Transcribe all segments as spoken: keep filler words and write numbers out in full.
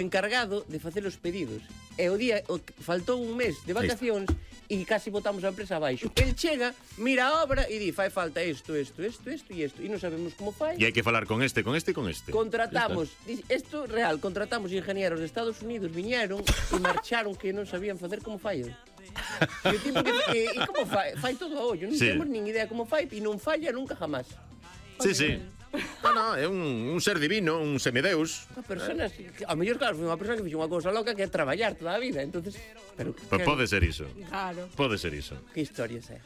encargado de facer os pedidos. E o día, o, faltou un mes de vacacións e casi botamos a empresa abaixo. El chega, mira a obra e di, fai falta isto, isto, isto, isto e isto. E non sabemos como fai. E hai que falar con este, con este e con este. Contratamos, isto real, contratamos ingenieros de Estados Unidos, viñeron e marcharon que non sabían facer como fai. E o tipo que, que e como fai? Fai todo a ollo, non Sí. temos nin idea como fai e non falla nunca jamás. Sí, sí. No, no, é un, un ser divino, un semideus. Unha persona, a mellor claro, foi unha persona que fixo unha cousa loca que é traballar toda a vida, entonces, pero Pues pode ser iso. Claro. Pode ser iso. que historia é?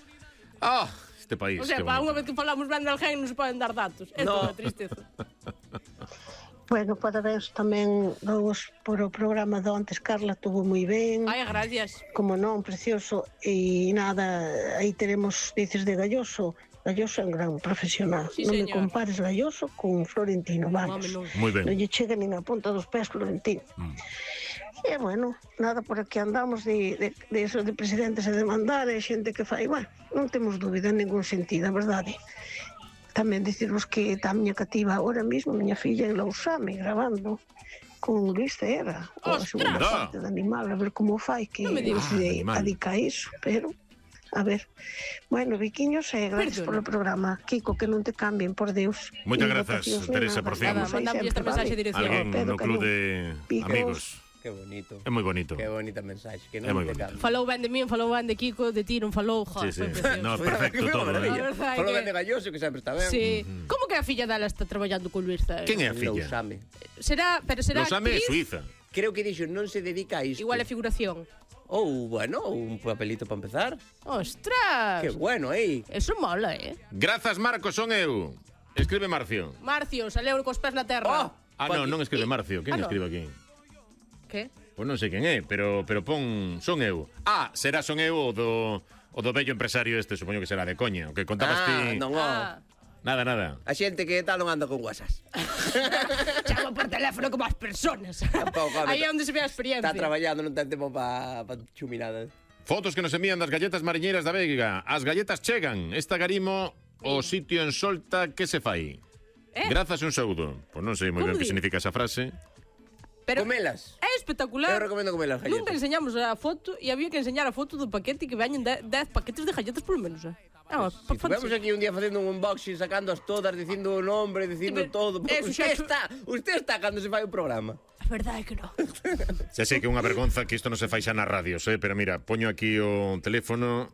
Ah, este país, O sea, que para unha bonito. vez que falamos ben de alguén non se poden dar datos. Esto No. é unha tristeza. Bueno, parabéns tamén vos por o programa de ontes, Carla, tuvo moi ben. Ai, gracias. Como non, precioso. E nada, aí teremos, dices de Galloso. Galloso é un gran profesional. Sí, non me señor. compares Galloso con Florentino, vamos. Home, non. Moi ben. Non lle chega nin a punta dos pés Florentino. Mm. E bueno, nada, por aquí andamos de, de, de eso de presidentes a demandar, e xente que fai, bueno, non temos dúbida en ningún sentido, a verdade. Tamén dicirvos que está a miña cativa ahora mismo, a miña filla en Lousame, grabando con Luis Cera, a Ostras! segunda parte do animal, a ver como fai, que Non me non digas. se Ah, animal. adica a iso, pero a ver. Bueno, Viquiños, eh, gracias Perdona. polo programa. Kiko, que non te cambien, por Deus. Moitas Nin grazas, votacións, nin Teresa, nada. por fin. Nada, Estamos aí mandamos esta sempre, mensaxe de vale? dirección. Alguén Pedro no club Cañón. de Picos. amigos. Que bonito. É moi bonito. Que bonita mensaxe, que É non moi te bonito. cambie. Falou ben de min, falou ben de Kiko, de ti non falou, Sí, joder, sí. foi precioso. No, perfecto Foi unha todo, maravilla. eh. A verdade Falou que- ben de Galloso, que sempre está ben. Sí. Como que a filla dela está traballando con Luis Cera? Quen é a filla? Lousame. Será, pero será Lousame é actriz? Suiza. Creo que dixo, non se dedica a isto. Igual é figuración. Ou, bueno, un papelito para empezar. Ostras! Que bueno, eh. Eso mola, eh? Grazas, Marcos, son eu. Escribe Marcio. Marcio, saleu cos pés na terra. Oh, Ah, non, non escribe Marcio. Quen Ah, no. escribe aquí? Que? Pois non sei quen é, pero pero pon son eu. Ah, será son eu o do o do bello empresario este, supoño que será de coña, o que contabas Ah, ti. non, oh. Ah, Nada, nada. A xente que tal non anda con WhatsApp. chama por teléfono como as personas. Tampouco, home, Aí é onde se ve a experiencia. Está traballando, non ten tempo para pa chuminada. Fotos que nos envían das galletas mariñeiras da Veiga. As galletas chegan. Esta garimo o sitio en Solta que se fai. Eh? Grazas un saúdo. Pois non sei moi Como ben que di? significa esa frase. Pero Comelas. é espectacular. Eu recomendo comelas galletas. Nunca enseñamos a foto e había que enseñar a foto do paquete e que veñen dez paquetes de galletas polo menos, eh? É unha Si estuvemos aquí un día facendo un unboxing, sacando as todas, dicindo o nombre, dicindo Sí, pero todo. eso Usted xa- está, usted está cando se fai o programa. A verdade é que non. Xa sei que é unha vergonza que isto non se fai xa nas radios, eh? Pero mira, poño aquí o teléfono